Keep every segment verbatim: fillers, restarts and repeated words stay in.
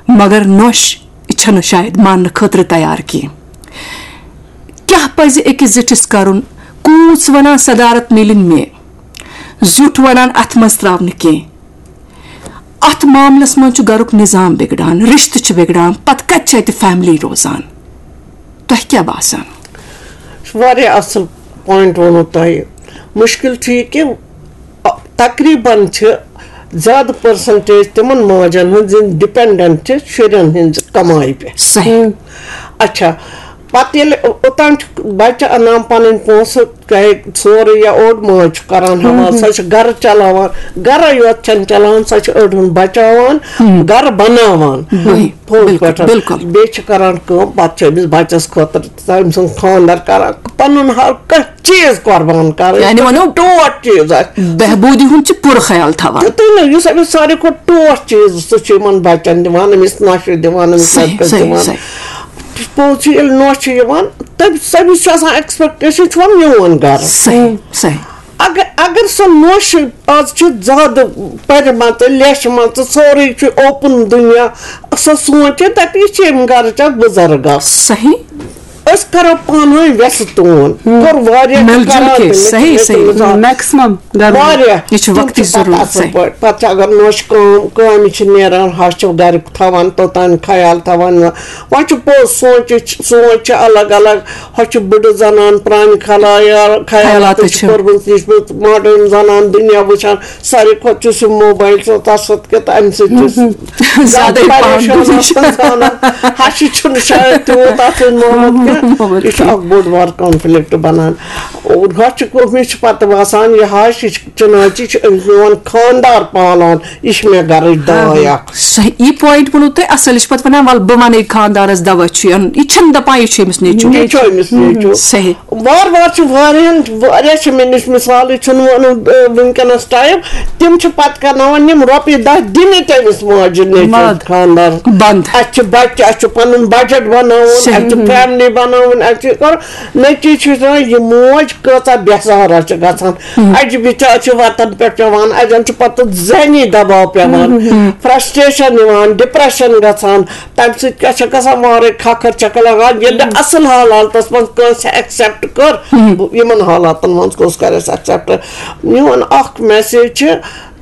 مگر نۄش چھنہٕ شاید ماننہٕ خٲطرٕ تیار کینٛہہ۔ کیٛاہ پزِ أکِس زِٹھِس کرُن؟ کوٗژ ونان صدارت میلِن مےٚ، زیُٹھ ونان اتھ منٛز تراو نہٕ کینٛہہ۔ اتھ معاملس منٛز چھُ گرُک نظام بگڑان، رشتہٕ چھِ بگڑان، پتہٕ کتہِ چھِ اتہِ فیملی روزان؟ تۄہہِ کیٛاہ باسان؟ واریاہ اصل پوینٹ ووٚنوٕ تۄہہِ۔ مشکل چھُ یہِ کہِ تقریباً چھِ زیادٕ پرسنٹیج تِمن ماجن ہٕنٛز یِم ڈِپینڈنٹ چھِ شُرٮ۪ن ہٕنٛزِ کمایہِ پٮ۪ٹھ۔ صحیح۔ اچھا، پتہٕ ییٚلہِ اوٚتام چھُ بچہِ انان پنٕنۍ پونٛسہٕ، چاہے سورُے یا اوٚڑ ماج چھُ کران حوالہٕ، سۄ چھِ گرٕ چلاوان، گرے یوت چھنہٕ چلاوان، سۄ چھِ أڑہن بچاوان، گرٕ بناوان۔ پوٚز پٲٹھۍ۔ بیٚیہِ چھِ کران کٲم، پتہٕ چھِ أمِس بچس خٲطرٕ تٔمۍ سُنٛد خانٛدر کران، پنُن ہر کانٛہہ چیٖز قۄربان کران۔ یعنی ونو، ٹوٹھ چیٖز آسہِ۔ بہبوٗدی ہُنٛد چھِ پوٗرٕ خیال تھاوان۔ تہٕ تُہۍ نہٕ، یُس أمِس ساروی کھۄتہٕ ٹوٹھ چیٖز سُہ چھُ یِمن بچن دِوان، أمِس نۄشہِ دِوان، أمِس صحیح، لڑکس صحیح، دِوان۔ صحیح۔ پوٚز چھُ، ییٚلہِ نۄش چھِ یِوان، تٔمِس، تٔمِس چھِ آسان ایکسپیکٹیشن، چھُ وَنان میون گرٕ۔ صحیح، صحیح۔ اگر، اگر سۄ نۄش، آز چھِ زیادٕ پَرِمَژٕ لیچھمَژٕ، سورُے چھُ اوپُن دُنیا، سۄ سونٛچہِ دَپہِ، یہِ چھِ ییٚمہِ گرٕچ اکھ بُزرگ اکھ۔ صحیح۔ أسۍ کرو پانہٕ ؤنۍ وٮ۪سہٕ تون۔ کوٚر واریاہ مِل جُل کران کے، تہٕ مےٚ چھِ صحیح، مےٚ چھِ صحیح۔ مِزاز۔ میکسِمم گرُک۔ واریاہ۔ یہِ چھُ تِم وقتٕچ پَتہٕ ضروٗرت، اَصٕل صحیح۔ پٲٹھۍ۔ پَتہٕ چھِ اگر نۄش کٲم، کامہِ چھِ نیران، ہَش چھِ گرُک تھاوان، توٚتام خیال تھاوان۔ وۄنۍ چھُ پوٚز، سونٛچِچ، سونٛچ چھِ الگ الگ۔ ہۄ چھِ بٕڈٕ زنان، پرٛانہِ خلایال، خیالاتٕچ خیالاتٕچ چھِ چھِ۔ پٔرمٕژ، لیٖچھمٕژ، ماڈٲرٕن زنان، دُنیا وٕچھان۔ ساروی کھۄتہٕ چھُ سُہ موبایل سۭتۍ، تَتھ سۭتۍ کہِ تَمہِ سۭتۍ چھُ زیادَے پَہَن پریشان دُنیا۔ آسان زانان۔ ہَشہِ چھُنہٕ شاید تیوٗت اَتھ سۭتۍ محبت کینٛہہ۔ محبت یہِ چھُ کینٛہہ۔ اَکھ بوٚڑ بار کانفلِکٹ بَنان۔ اور ہۄ چھُ، مےٚ چھُ پَتہٕ باسان، یہِ ہَش، یہِ چھُ چِناچہِ، یہِ چھُ أمِس میون خانٛدار پالان، یہِ چھِ مےٚ گَرٕچ داے اَکھ۔ صحیح، یہِ پوینٹ ووٚنوٕ تۄہہِ اَصٕل، یہِ چھِ پَتہٕ وَنان، وَلہٕ بہٕ وَنَے خانٛدارَس دَوا چھُ یَن، یہِ چھِنہٕ دَپان یہِ چھُ أمِس نیٚچوٗ۔ یہِ چھُ أمِس نیٚچوٗ۔ صحیح۔ وار وار چھِ واریاہَن، واریاہ چھِ مےٚ نِش مِثالٕے، چھُنہٕ وَنُن، آ، وٕنکیٚنَس ٹایم، تِم چھِ پَتہٕ کَرناوان یِم رۄپیہِ دَہ دِنہِ تٔمِس ماجہِ نیٚچوٗ مَد۔ خانٛدار۔ بنٛد۔ اَسہِ چھِ بَچہِ، اَسہِ چھُ پَنُن بَجٹ بَناوُن، صحیح۔ اَسہِ چھِ فیملی بَناوٕنۍ، اَسہِ چھِ کَرُن۔ نٔتیٖجہٕ چھُ وٕچھان، یہِ موج کۭژاہ بے سہارا چھِ گژھان۔ اَجہِ بِچارِ چھِ وَتَن پٮ۪ٹھ پٮ۪وان، اَجَن چھُ پَتہٕ ذہنی دباو پٮ۪وان، فرسٹریشن یِوان، ڈپریشن گژھان۔ تَمہِ سۭتۍ کیٛاہ چھےٚ گژھان؟ وارَے کھکھٕر چھَکھ لگان۔ ییٚلہِ نہٕ اَصٕل حالاتَس منٛز کٲنٛسہِ ایکسیپٹ کٔر، بہٕ، یِمَن حالاتَن منٛز کُس کَرِ اَسہِ ایکسیپٹ؟ میون اَکھ میسیج چھِ،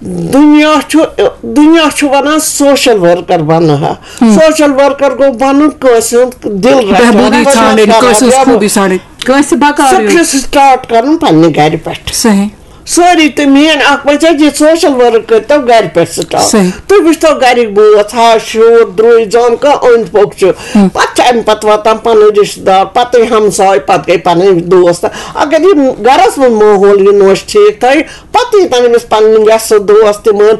دُنیا چھُ، دُنیا چھُ وَنان سوشل ؤرکر بَنہٕ ہا۔ سوشل ؤرکر گوٚو بَنُن کٲنٛسہِ ہُنٛد دِل رَچھان، بہبوٗدی خدمت ژھانٛڈٕنۍ، کران، کٲنٛسہِ ہٕنٛز یا خوٗبی ژھانٛڈٕنۍ۔ کٲنٛسہِ بکار یُن۔ سٹارٹ کرُن پننہِ گرِ پٮ۪ٹھ۔ صحیح۔ سٲری تہٕ میٲنۍ اکھ بچہِ حظ، یہِ سوشل ؤرک کٔرتو گرِ پٮ۪ٹھ سٹارٹ۔ صحیح۔ تُہۍ وٕچھتو گرِکۍ بٲژ، ہا، شُر، درُے، زام کانٛہہ أنٛدۍ پوٚک چھُ۔ پتہٕ چھِ امہِ پتہٕ واتان پنٕنۍ رشتہٕ دار، پتہٕ یہِ ہمساے، پتہٕ گٔے پنٕنۍ دوست۔ اگر یہِ گرس منٛز ماحول یہِ نوش ٹھیٖک تھایہِ، پتہٕ ییٚتٮ۪ن أمِس پنٕنۍ وٮ۪سہٕ دوست تِمن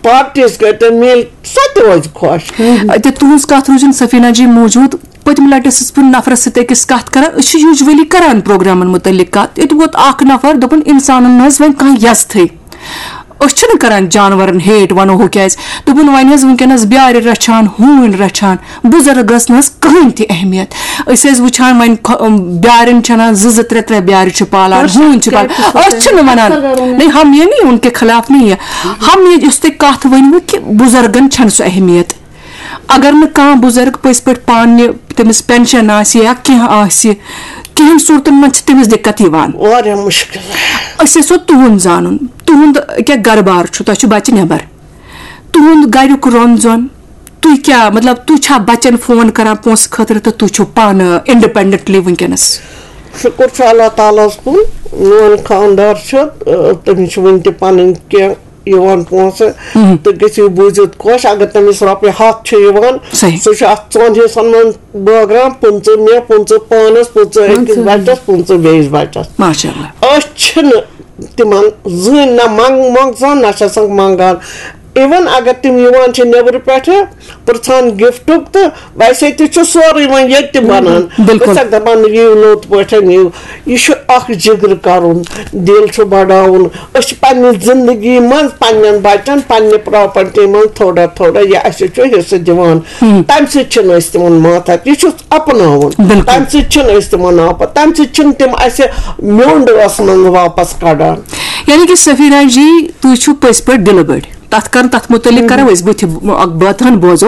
پارٹیز کٔرۍ تہٕ میلۍ، سۄ تہِ روزِ خۄش۔ اتہِ تُہنٛز کتھ روٗزِن سفینا جی موجود۔ پٔتمہِ لٹہِ ٲسٕس بہٕ نفرس سۭتۍ أکِس کتھ کران، أسۍ چھِ یوٗجؤلی کران پروگرامن مُتعلق کتھ۔ ییٚتہِ ووت اکھ نفر، دوٚپُن، انسانن منٛز وۄنۍ کانٛہہ یزتھٕے، أسۍ چھِنہٕ کران جانورن ہیٹ، ونو ہُہ کیازِ۔ دوٚپُن، وۄنۍ حظ وٕنکیٚنس بیارِ رچھان، ہوٗنۍ رچھان، بُزرگس نہٕ حظ کٕہٕنۍ تہِ اہمیت۔ أسۍ ٲسۍ وٕچھان وۄنۍ خۄ-، بیارٮ۪ن چھِ انان زٕ زٕ ترٛےٚ ترٛےٚ بیارِ چھِ پالان، ہوٗنۍ چھِ پالان۔ أسۍ چھِنہٕ ونان، نہیں، ہم یہ نہیں ان کے خلاف نہیں ہے، ہم یہ یُس تُہۍ کتھ ؤنوٕ کہِ بُزرگن چھنہٕ سۄ اہمیت۔ اگر نہٕ کانٛہہ بُزرگ پٔزۍ پٲٹھۍ پانہٕ تٔمِس پینشن آسہِ یا کینٛہہ آسہِ، کینٛہن صوٗرتن منٛز چھِ تٔمِس دِقت یِوان۔ واریاہ مُشکِل۔ أسۍ یژھو تُہُنٛد زانُن، تُہُنٛد کیٛاہ گرٕ بار چھُ؟ تۄہہِ چھُ بچہِ نٮ۪بر، تُہُنٛد گریُک رۄن زۄن، تُہۍ کیٛاہ، مطلب، تُہۍ چھا بچن فون کران پونٛسہٕ خٲطرٕ تہٕ تُہۍ چھِو پانہٕ انڈیپینڈنٹلی وٕنکیٚنس؟ شُکُر چھُ اللہ تعالیٰ ہَس کُن، میون خانٛدار چھُ، آ، تٔمِس چھِ وٕنہِ تہِ پنٕنۍ کینٛہہ یِوان پونٛسہٕ، تہٕ گٔژھِو بوٗزِتھ خۄش، اگر تٔمِس رۄپیہِ ہَتھ چھِ یِوان، صحیح۔ سُہ چھُ اَتھ ژۄن حِصَن منٛز بٲگراوان، پٕنٛژٕہ مےٚ، پٕنٛژٕہ پانَس، پٕنٛژٕہ أکِس بَچَس، پٕنٛژٕہ بیٚیِس بَچَس۔ ماشاء اللہ۔ أسۍ چھِنہٕ تِمَن زٕہٕنۍ نہ منٛگ-، منٛگژان، نہ چھِ آسان منٛگان۔ Even اگر تِم یِوان چھِ نیٚبرٕ پٮ۪ٹھٕ، پرٛژھان گفٹُک، تہٕ ویسے تہِ چھُ سورُے وۄنۍ ییٚتہِ تہِ بنان۔ بِلکُل۔ أسۍ چھِ دَپان، یِیِو لوٚت پٲٹھۍ یِیِو۔ یہِ چھُ اکھ جِگر کرُن، دِل چھُ بڑاوُن۔ أسۍ چھِ پننہِ زندگی منٛز پننٮ۪ن بچن، پننہِ پراپرٹی منٛز تھوڑا تھوڑا یہِ اَسہِ چھُ حصہٕ دِوان۔ تمہِ سۭتۍ چھِنہٕ أسۍ تِمن ماتحت، یہِ چھُ اپناوُن۔ بِلکُل۔ تمہِ سۭتۍ چھِنہٕ أسۍ تِمن آپت، تمہِ سۭتۍ چھِنہٕ تِم اَسہِ میوٚنٛڈ ٲس منٛز واپس کڑان۔ یعنی کہِ سفیرہ جی، تُہۍ چھِو پٔزۍ پٲٹھۍ دِلہٕ بٔڑۍ۔ تَتھ کَر-، تَتھ مُتعلِق کَرو أسۍ بٕتھِ اَکھ بٲتھ ہَن بوزو۔